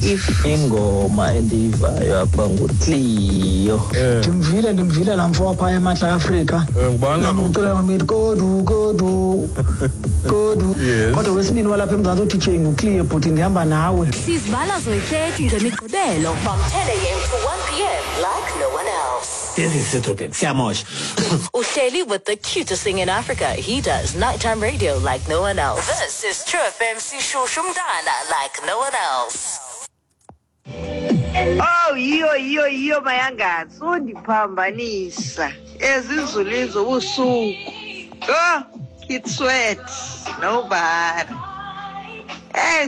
If Ingoma endiyivayo apha nguCleo. Ndimvile, ndimvile laa mfo wapha eMantla Afrika. Ngubani lo? Ucula ngomiti kodu kodu kodu. Kodwa wesibini walapha eMzantsi uDJ nguCleo, bhuti, ndihamba nawe. Sizibala zoyi-30 ngeMigqibelo from 10 a.m. to 1 p.m. like no one else. Sesisedodeni siyamosha. Uhleli with the cutest thing in Africa. He does nighttime radio like no one else. This is True FM Sishushu Mdana like no one else. Oh, yiyo yiyo yiyo mayanga, sundiphambanisa ezinzulwini zobusuku. Oh, it's sweat nobody.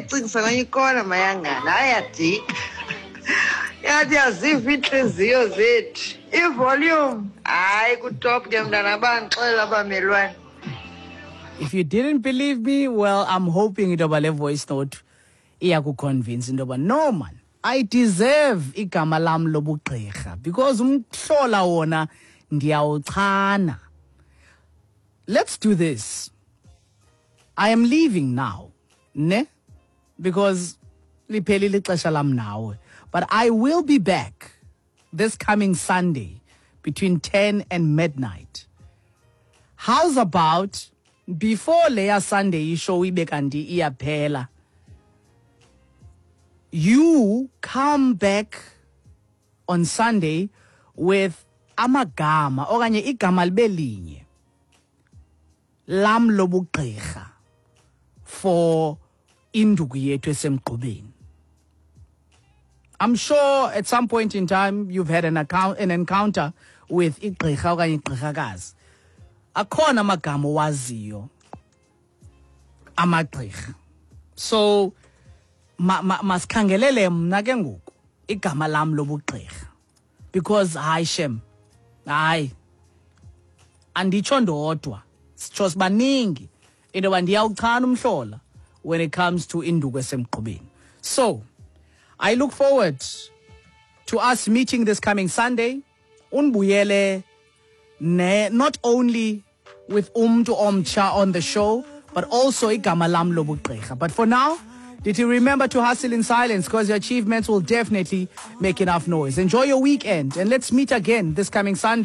Cingisa kwenye ikona mayangana, hayi yadika. Yathi yaziva iintliziyo zethu. I-volume, hayi ku-top ke mntana, bandixelela abamelwane. If you didn't believe me, well, I'm hoping into yoba le voice note iyakuconvince into yoba no man, I deserve igama lam lobugqirha because umhlola wona ndiyawuchana. Let's do this. I am leaving now, ne? Because liphelile ixesha lam nawe. But I will be back this coming Sunday between 10 and midnight. How's about before leya Sunday ishow ibe kanti iyaphela, you come back on Sunday with amagama okanye igama libe linye lam lobugqirha for induku yethu esemgqubeni. I'm sure at some point in time you've had an encounter with igqirha okanye igqirhakazi. Akhona amagama owaziyo amagqirha. So masikhangelele mna ke ngoku igama lam lobugqirha, because hayi shem, hayi anditsho ndodwa, sitsho sibaningi into yoba ndiyawuchana umhlola when it comes to induku esemgqubeni. So I look forward to us meeting this coming Sunday. Unbuyele ne, not only with umntu omtsha on the show, but also igama lam lobugqirha. But for now, did you remember to hustle in silence, because your achievements will definitely make enough noise. Enjoy your weekend, and let's meet again this coming Sunday.